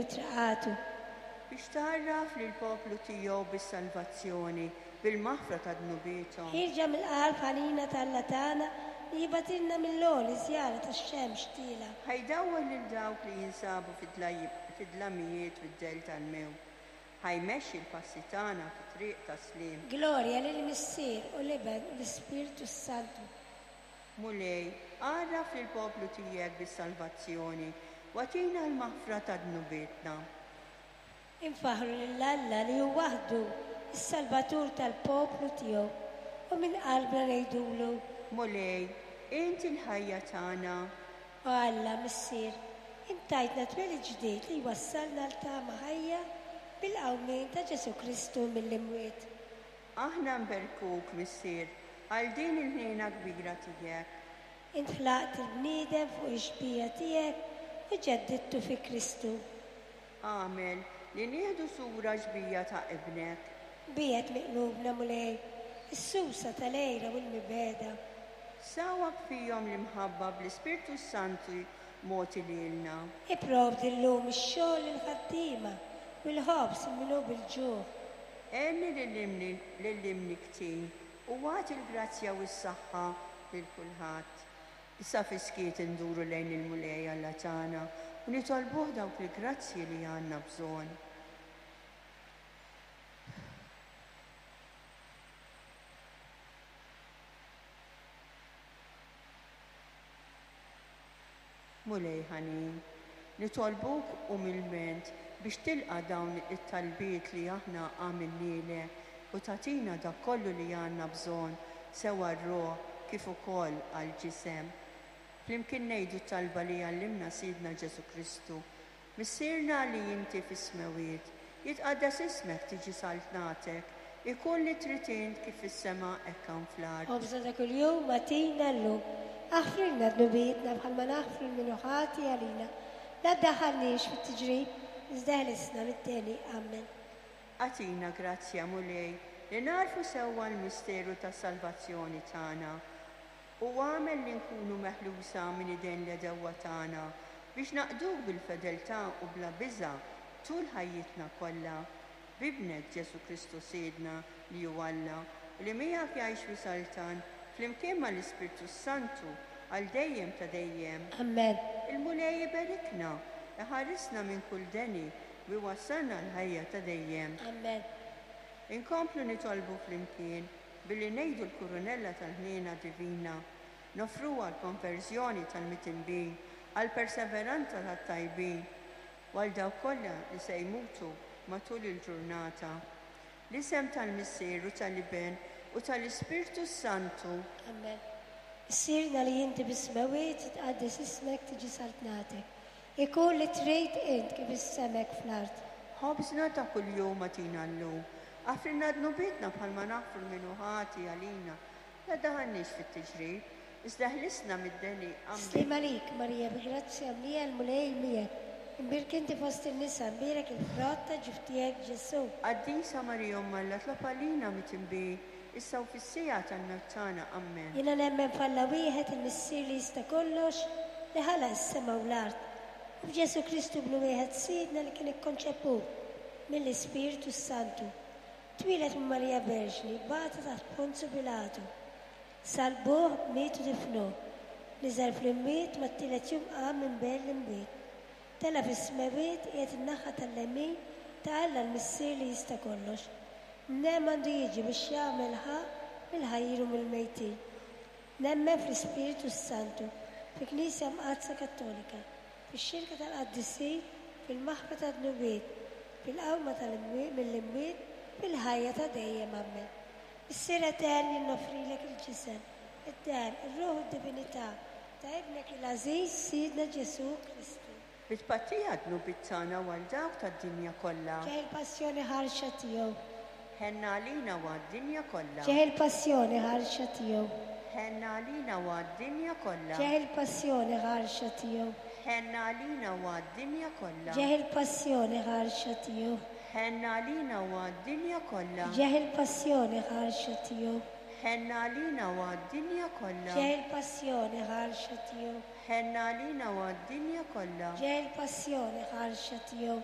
mitraqatu. Biex tgħarraf lill-poplu tiegħu bis-salvazzjoni, bil-maħfra ta' dnubiethom. Ħierġa mill-qalb ħanina t'Alla tagħna li jibgħatilna mill-għoli żjara tax-xemx tielgħa. Ħa jdawwal lil dawk li jinsabu fid-dlamijiet u d-dell tal-mewt, ħa jmexxi l-passi tagħna fit-triq tas-sliem. Glorja lill-Missier u l-Iben u l-Ispirtu s-Santu. Mulej, għarraf lill-poplu tiegħek bis-salvazzjoni u agħtina l-maħfra ta' dnubietna. Infaħħru lil Alla li hu waħdu s-Salvatur tal-poplu tiegħu u minn qalbna ngħidulu. Mulej, int il-ħajja tagħna. O Alla, Missier, int tajtna twelid ġdid li jwassalna għal tama ħajja bil-qawmien ta' Ġesù Kristu mill-imwiet. Aħna nberkuk, Missier, għal din il-ħniena kbira tiegħek. Int ħlaqt il-bniedem fuq ix-xbieha tiegħek u ġeddidtu fi Kristu. Agħmel li nieħdu sura xbieha ta' Ibnek. Biegħed minn qlubna, Mulej, is-susa tal-għira u l-mibegħda. Sawwab fihom l-imħabba bl-Ispirtu s-Santu mogħti lilna. Ipprovdi llum ix-xogħol lill-ħaddiema u l-ħobż lil min hu bil-ġuħ. Għenni lill-imnikktin u agħti l-grazzja u s-saħħa lil kulħadd. Issa fis-skiet induru lejn il-Mulej Alla tagħna u nitolbuh dawk il-grazzji li għandna bżonn. Mulej ħanin, nitolbuk umilment biex tilqa' dawn it-talbiet li aħna għamilnielek u tagħtina dak kollu li għandna bżonn sew għar-ruħ kif ukoll għall-ġisem. Flimkien ngħidu t-talba li għallimna Sidna Ġesù Kristu, Missierna li inti fis-smewwiet, jitqaddes ismek tiġi saltnatek, ikun li trid int kif fis-sema hekk hawn fl-art. Ħobżna ta' kuljum agħtina llum. Aħfrilna dnubietna bħalma naħfru 'l min hu ħati għalina. La ddaħħalniex fit-tiġrib, iżda eħlisna mid-deni. Ammen. Agħtina grazzja, Mulej, li nagħrfu sewwa l-misteru tas-salvazzjoni tagħna, u agħmel li nkunu meħlusa minn idejn l-għedewwa tagħna, biex naqduk bil-fedeltà u bla biża' tul ħajjitna kollha. B'Ibnek Ġesù Kristu Sidna, li hu Alla, u li miegħek jgħix u jsaltan, flimkien mal-Ispirtu s-Santu, għal dejjem ta' dejjem. Ammen. Il-Mulej iberikna, iħarisna minn kull deni, u jwassalna għall-ħajja ta' dejjem. Ammen. Inkomplu nitolbu flimkien billi ngħidu l-Kurunella tal-Ħniena Divina, noffruha għall-konverżjoni tal-mitinbin, għall-perseveranza tat-tajbin, u għal dawk kollha li se jmutu matul il-ġurnata. L-isem tal-Missier u tal-Iben u tal-Ispirtu s-Santu. Ammen. Missierna li inti fis-smewwiet, jitqaddes ismek, tiġi saltnatek. Ikun li trid int kif is-sema hekk fl-art. Ħobżna ta' kuljum agħtina llum. Aħfrilna dnubietna bħalma naħfru 'l min hu ħati għalina. La ddaħħalniex fit-tiġrib, iżda eħlisna mid-deni. Ammen. Sliem għalik, Marija, bi grazzja mlija l-Mulej miegħek. Imbierk inti fost in-nisa, imbierek il-frott ta' ġuf tiegħek, Ġesù. Qaddisa Marija Omm Alla tlob għalina mitinbin, issa u fis-siegħa tal-mewt tagħna. Ammen. Jiena nemmen f'Alla wieħed, il-Missier li jista' kollox, li ħalaq is-sema u l-art, u f'Ġesù Kristu Ibnu wieħed Sidna li kien ikkonċeput mill-Ispirtu s-Santu. Twieled minn Marija Verġni, bata taħt Ponzu Pilatu. Salbuh, miet u difnuh. Niżel fl-imwiet, mat-tielet jum qam minn bejn l-imwiet. Tela' fis-smewwiet, qiegħed in-naħa tal-lemin ta' Alla l-Missier li jista' kollox. Minn hemm għandu jiġi biex jagħmel ħaqq mill-ħajjin u mill-mejtin. Nemmen fl-Ispirtu s-Santu, fil-Knisja Mqaddsa Kattolika, fix-xirka tal-qaddisin, fil-maħfra tad-dnubiet, fil-qawma mill-imwiet, fil-ħajja ta' dejjem. Ammen. Missier etern, jien noffrilek il-ġisem, id-demm, ir-ruħ u d-divinità ta' Ibnek il-għażiż, Sidna Ġesù Kristu. Bi tpattija għad-dnubiet tagħna u għal dawk tad-dinja kollha. Ġeħ il-passjoni ħarxa tiegħu. Ħenna għalina u għad-dinja kollha. Ġeħ il-passjoni ħarxa tiegħu. Ħenna għalina u għad-dinja kollha. Ġeħ il-passjoni ħarxa tiegħu. Ħenna għalina u għad-dinja kollha. Ġeħ il-passjoni ħarxa tiegħu. Ħenna għalina u għad-dinja kollha. Ġeħ il-passjoni ħarxa tiegħu. Ħenna għalina u għad-dinja kollha. Ġeħ il-passjoni ħarxa tiegħu. Ħenna għalina u għad-dinja kollha. Ġeħ il-passjoni ħarxa tiegħu.